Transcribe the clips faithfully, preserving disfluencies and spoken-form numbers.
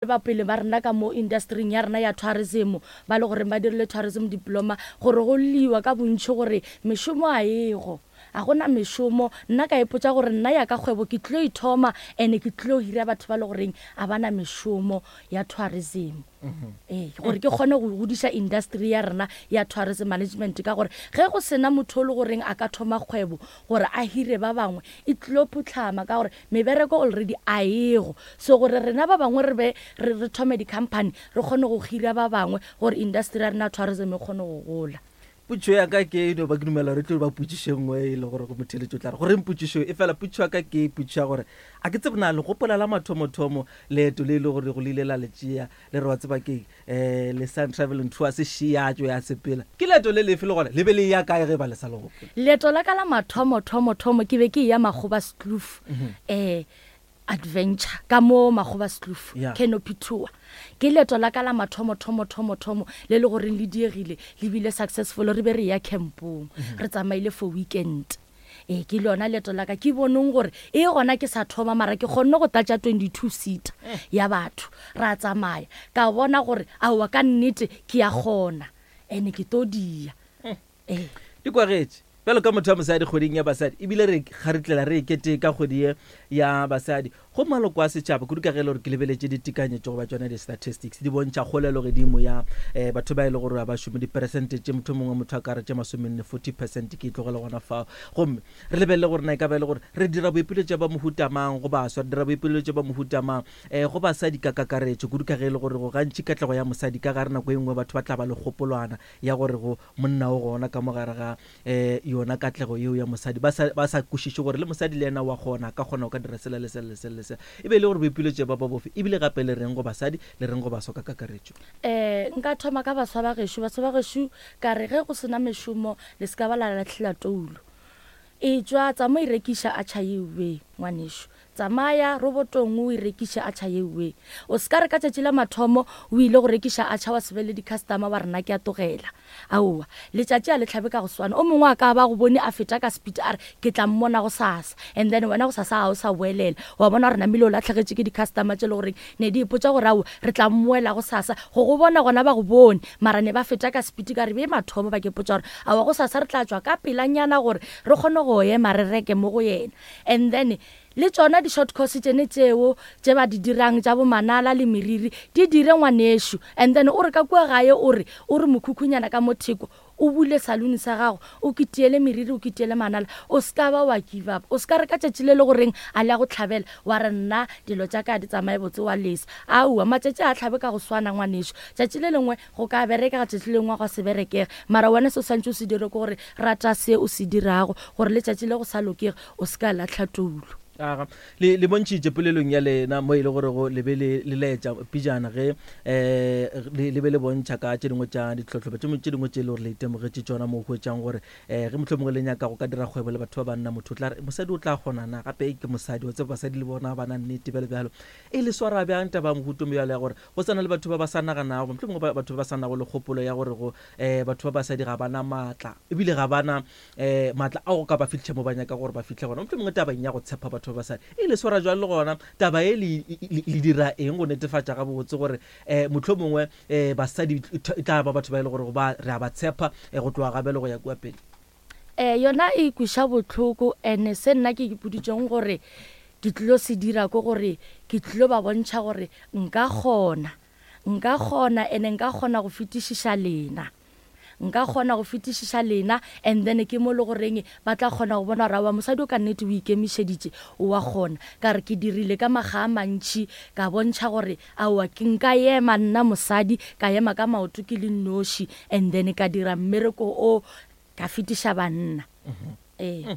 Ba pele ba rena ka mo industryng ya rena ya tourism, ba le gore ba dirile tourism diploma, gore go lliwa ka bontši gore mešomo a ego, a gona mešomo. Nna ka ipotša gore nna ya ka kgwebo ke tlo ithoma, and ke tlo hira batho ba le goreng a bana mešomo ya tourism, ee, gore ke kgone go godiša industry ya rena ya tourism management, ka gore ge go sena motho o le goreng a ka thoma kgwebo gore a hire ba bangwe, e tlo phutlhama, ka gore mebereko already a ego. So gore rena ba bangwe re be re re thome di-company, re kgone go hira ba bangwe gore industry ya rena ya tourism e kgone go gola. Potšo ya ka ke no ba ke dumela gore e tlo ba potšišo e nngwe e le gore go motheletšo tla re goreng potšišo e fela. Potšišo ya ka ke potšišo ya gore a ke tsebe na le gopola la mathomothomo leeto le e le gore go le ile la le tšea le re wa tseba ke um le Sun Travel and Tours šeatšo ya sepela, ke leeto le lefe le gona le be le ya kae ge ba le sa le gopola? Leeto la ka la mathomo thomo thomo ke be ke ya Magoebaskloof, um adventure ka mo Magoebaskloof, Yeah. Canopy tour. Ke leeto la ka la mathomo thomo thomo thomo le le goreng le diegile le bile successful. Re be re ya campong, re tsamaile for weekend. Ee, ke lona leeto la ka ke boneng gore e gona ke sa thoma, mara ke kgonne go tlatša twenty-two seat ya batho, ra tsamaya, ka bona gore aowa, ka nnete ke ya kgona and ke to dia, ee. Di kwagetše bjalo ka motho wa mosadi kgweding ya basadi, ebile re garetlela re ekete ka kgwedi ye ya basadi go maloko a setšhaba kudu, ka ge e le gore ke lebeletše ditekanyetšo goba tšona di-statistics di bontšha kgolelo godimo ya um batho ba e le gore ga ba šome, diperesente tše motho mongwe motho a ka re tše masomenne, forty percent. Ke e tlogele gona fao gomme re lebelele gore na e ka ba e le gore re dira boipiletšo ba mohuta mang go baswa, re dira boipiletšo ba mohuta mang um go basadi ka kakaretšo kudu, ka ge e le gore go gantši katlego ya mosadi ka gare nako e nngwe batho ba tla ba le kgopolwana ya gore go monna o gona ka mo gare ga um yona katlego yeo ya mosadi, ba sa ba sa kwešiše gore le mosadi le yena wa kgona, a ka kgona go ka dira sela le sela le sela le sela. E be e le gore boipiletšo ba ba bofe, ebile gape le reng go basadi, le reng go baswa ka kakaretšo? um nka thoma ka baswa ba gešo. Baswa ba gešo, ka re ge go sena mešomo, le se ka ba la latlhela toulo. E tswa tsama e rekiša atšha yewe, ngwanešo, tsamaya robotong o e rekiše atšha yewe. O se ka re ka tšatši la mathomo o ile go rekiša atšha wa se be le di-customer, wa rena ke a tlogela. Aowa, letšatši a le tlhabe ka go swana. O mongwe a ka ba go bone a feta ka speed, a re ke tla mmona go sasa, and then wena go sasa ga o sa boelela, wa bona gore namile o latlhegetše ke di-customer tše le goreng ne di ipotša gore ao, re tla mmoela go sasa go go bona. Gona ba go bone, mara ne ba feta ka speed. Ka re be mathomo ba ke potša gore aowa, go sasa re tla tšwa ka pelanyana gore re kgone go ema re reke mo go yena. And then le tšona di-short course tšene tšeo tše ba di dirang tša bomanala le meriri, di dire, ngwanešo. And then o re ka kua gae, o re o re mokhukhunyana ka mo theko, o bule salone sa gago, o ketiele meriri, o ketiele manala. O se ka ba wa give up. O se ka re ka tšatši le le goreng a le ya go tlhabela wa re nna dilo tša ka di tsamaye botse, wa lesa. Aowa, matšatši a tlhabe ka go swana, ngwanešo. Tšatši le lengwe go ka berekega, tšatši le lengwe go se berekege, mara wena se o swantse o se dire ke gore rata se o se dirago, gore letšatši le go sa lokege o se ka latlha toulo. Aga le le bontšhitše polelong ya lena mo e le gore go le be le le laetša pijana ge um le le be le bontšha ka tše dingwe tša ditlhohlobo tše tše dingwe tše e le gore le itemogetše tšona, mo o hwetšang gore um ge mohlomongwe le nyaka go ka dira kgwebo le batho ba banna, motho o tla re mosadi o tla kgona na, gape ke mosadi, wa tseba basadi le bona ba na nnete bjalo bjalo. E le swara bjang taba ya mohuto bjalo ya gore go sana le batho ba ba sa naganago, mohlomongwe ba- batho ba ba sa nago le kgopolo ya gore go um batho ba basadi ga bana maatla, ebile ga bana um maatla a go ka ba fitlhe mo ba nyaka gore ba fitlhe gona, mohlomongwe tabeng ya go tshepa batho ba basadi? E le swara jwang, le gona taba e le le le dira eng go netefatša gabotse gore um mohlomongwe um basadi e tla ba batho ba e le gore ba re a ba tshepa um go tloga gabele go ya kua pele? um yona e kweša bohloko, and se nna ke ipoditšeng gore ke tlilo se dira ke gore ke tlilo ba bontšha gore nka kgona, nka kgona, and nka kgona go fetišiša lena, nka kgona go fetišiša lena. And then ke mo le goreng ba tla kgona go bona gore aowa, mosadi o ka nnete o ikemišeditše, o wa kgona. Ka re ke dirile ka makga a mantšhi, ka bontšha gore aowa, ke nka ema nna mosadi, ka ema ka maoto ke le noši, and then ka dira mmereko o ka fetiša banna, ee.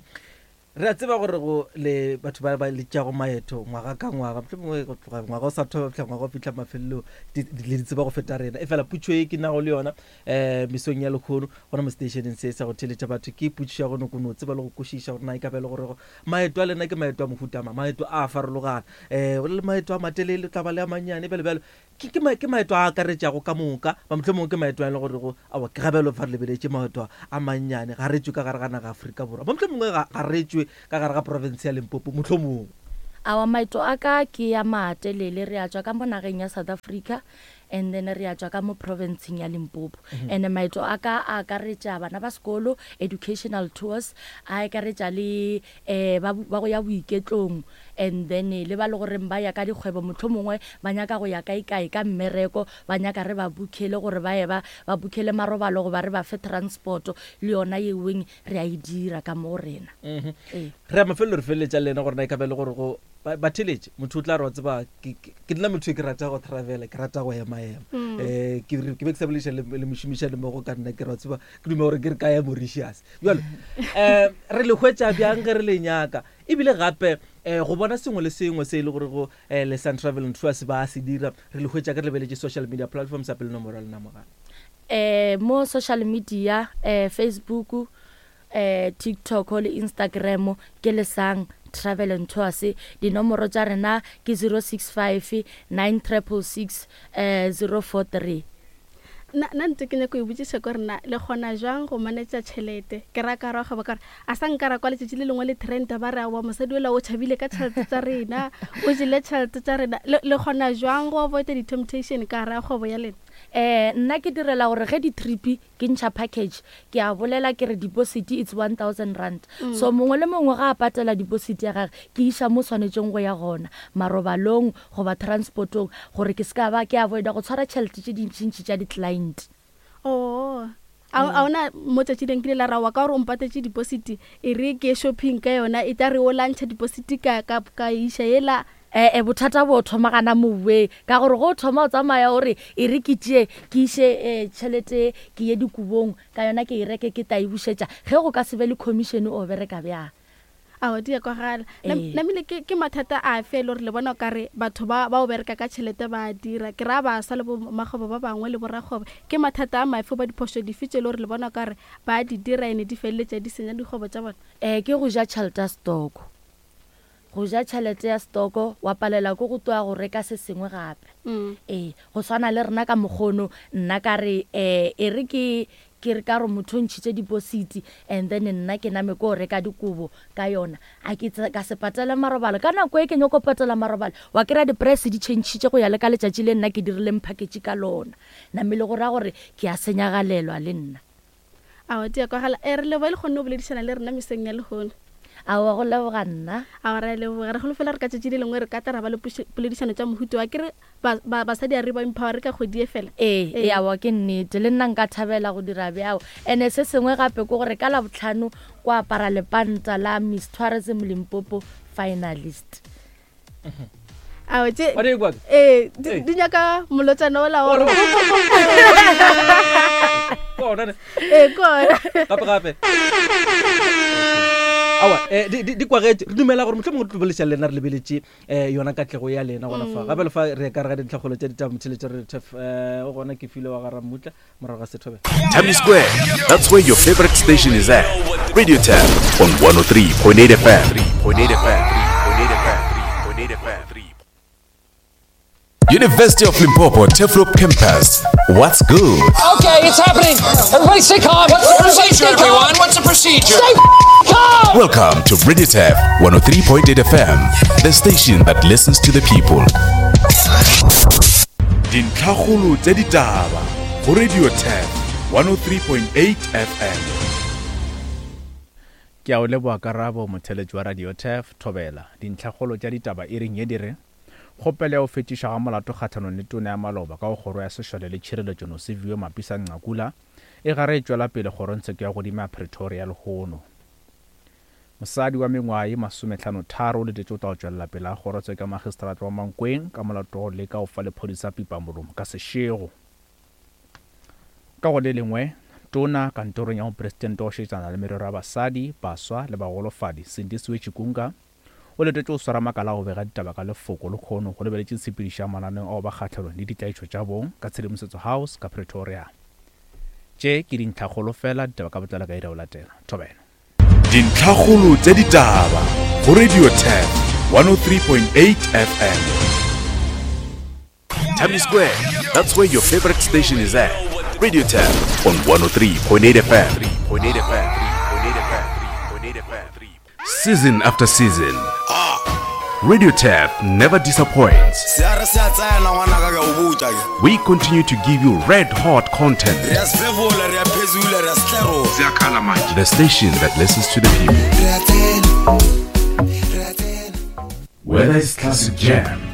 Re a tseba gore go le batho ba ba letšago maeto ngwaga ka ngwaga, mohlomongwe go tloga ngwaga o sa thoma fihla ngwaga o fihla mafelelong, di- di- le di tseba go feta rena. E fela putšo e ke nago le yona um mesong ya lekgono gona mo stationeng se sa go theletša batho ke putšo ya go no no tseba le go kwešiša gore na e ka ba e le gore maeto a lena ke maeto a mohuta mang, maeto a a farologana, um le maeto a matelele, tla ba le a mannyane bjalo bjalo, ke ke ma- ke maeto a akaretšago ka moka ba, mohlomongwe ke maeto a e le gore go aowa, ke gabelo fa re lebeletše maeto a mannyane, ga re tšwe ka gare ga naga Afrika Borwa, ba mohlomongwe ga ga re tšwe ka gare ga province ya Limpopo mohlomongwe? Awa maeto a ka ke ya matelele, re a tswa ka mo nageng ya South Africa and then re a tswa ka mo provinceng ya Limpopo. And maeto a ka a akaretša bana ba sekolo, educational tours, a akaretša le um ba ba go ya boiketlong, and then le ba le goreng ba ya ka dikgwebo, mohlomongwe ba nyaka go ya kae-kae ka mmereko, ba nyaka re ba bookele gore ba ye ba ba bookele marobalo goba re ba fe transport, le yona yeweng re a e dira ka mo rena. Ee. Re ya mafelelo, re feleletša le lena gore na e ka ba e le gore go ba batheletše motho o tla re wa tseba ke ke- ke nna motho e ke rata go travela, ke rata go ema-ema. um ke re- ke be ke sa bolediša le le mošomišane mmogo ka nna, ke re wa tseba ke duma gore ke re ka ya Mauritius. Bjalo um re le hwetša bjang ge re le nyaka? Ebile gape um go bona sengwe le sengwe se e le gore go um le Sun Travel and Tours ba se dira, re le hwetša ke re lebeletše social media platforms a pele nomoro ya lena mogala. eh mo social media, eh Facebook, eh TikTok le Instagram ke Lesang Travel and Tours. Dinomoro tša rena ke zero six five nine triple six eh zero four three. Nna nna ntse ke nyako e botšiša ko rena le kgona jwang go manage tšhelete? Ke ra ka ra kgwebo ka gore a sa nka ra kwa letšatši le lengwe le trenda ba re aowa mosadi ola o tšhabile ka tšhelete tša rena, o jele tšhelete tša rena. Le le kgona jwang go avoida di-temptation ka gare ga kgwebo ya lena? Eh nna ke direla gore ge di-trip ke ntšha package, ke a bolela ke re deposit it's one thousand rand. So mongwe le mongwe ga a patela deposit ya gage, ke iša mo swanetšeng go ya gona, marobalong goba transportong, gore ke se ka ba ke avoida go tshwara tšhelete tše dintšintši tša di-client. Oh, a a ona mo tšatši leng kile la ra wa ka gore o mpatetše deposit, e re ke shopping ka yona, e tla re o lantšha deposit ka ka ka iša ela. Eh eh bothata bo thoma gana moweng, ka gore go thoma o tsamaya o re e re ke tšee ke iše eh, tšhelete ke ye dikobong ka yona, ke e reke ke tla e bušetša. Ge go ka se be le commission, o bereka bjang? Ao di a kwagala. Ee. Namile ke ke mathata a fe e le gore le bona o kare batho ba ba o bereka ka tšhelete ba a dira? Ke ra baswa le bo makgwebo ba bangwe le borakgwebo, ke mathata a mafe ba diphošo dife tše e le gore le bona o kare ba di dira ene di feleletša di senya dikgwebo tša bona? Eh ke go ja tšhelete ya stoko, go ja tšhelete ya stoko wa palela ko go tloa go reka se sengwe gape. Mm. Ee, go swana le rena ka mokgono, nna ka re um e re ke ke re ka re motho o ntšhitše deposit and then nna ke name ko reka dikobo ka yona, a ke tse- ka se patele marobalo ka nako e ke nyako patela marobalo, wa kry-a di-price di changitše go ya le ka letšatši le nna ke dirileng package ka lona, namele go raya gore ke a senyagalelwa le nna. Ao di a kwagala. E re leboa le kgonne go boledišana le rena meseng ya lehono. Aowa, go leboga nna. Ao re a leboga, re holofela re ka tšatši le lengwe re ka tla ra ba le puše- poledišano tša mohuto wa ke re ba- ba- basadi a re ba empower ka kgwedi e fela. Ee, Ee. ee, aowa ke nnete, le nna nka thabela go dira bjao. Ene se sengwe gape ke gore ka Labohlano ko apara lepanta la Miss Tourism Limpopo finalist. Ao tše Wa di kwa? ee di Ee. di nyaka molotšana ola wa Ore- gore Kona ne. ee kona. Gape gape. Aowa, eh, di di- di kwagetše. Re dumela gore mohlomongwe re tlo bolediša le lena re lebeletše um yona katlego ya lena gona fa. Gape le fa re ka re ga dintlhakgolo tša ditaba motheletša re tef um o gona ke file wa ga Rammutla morago ga sethobela. Tammy Square, that's where your favorite station is at. Radio Tab on one oh three point eight F M. point eight F M. point eight F M. University of Limpopo Turfloop Campus. What's good? Okay, it's happening. Everybody stay calm. What's the Everybody procedure, stay calm. everyone? What's the procedure? Stay calm. Welcome to Radio Tab one oh three point eight F M, the station that listens to the people. Dintlhakgolo tša ditaba go Radio Tab one oh three point eight F M. Ke a o leboga karabo motheletši wa Radio Turf Thobela. Dintlhakgolo tša ditaba e reng ye di re kgopelo ya go fetišwa ga molato kgahlanong le tona ya maloba ka go kgoro ya sešole le tšhireletšo Nosiviwe Mapisa Nqakula e gare e tšwela pele kgorongtsheko ya godimo ya Pretoria lehono. Mosadi wa mengwaga ye masomehlano tharo o letetše o tla go tšwelela pele ga kgorotsheko ya magistrata wa Mankweng ka molato wa go leka go fa lephodisa pipa molomo ka sešego. Ka go le lengwe, tona kantorong ya mopresidente wa go šetšana le merero ya basadi, baswa le bagolofadi Sindisiwe Chikunga o letetše go swara makala a go bega ditaba ka lefoko le kgono go lebeletše tshepedišo ya mananeo ao ba kgahlanong le ditlaišo tša bong ka Tshedimosetso House ka Pretoria. Tše ke dintlhakgolo fela, ditaba ka botlalo ka ira o latela. Thobela. Dintlhakgolo tša ditaba go Radio Turf one oh three point eight F M. Tammy Square, that's where your favorite station is at. Radio Tab on one oh three point eight F M. point eight F M. Season after season, Radio Tap never disappoints. Se a re se a tsena ngwanaka ke a o botša ke. We continue to give you red hot content. Re a sefefola, re a phezula, re a setlerola. The station that listens to the people. Re a tsena. Re a tsena. Whether it's classic jam,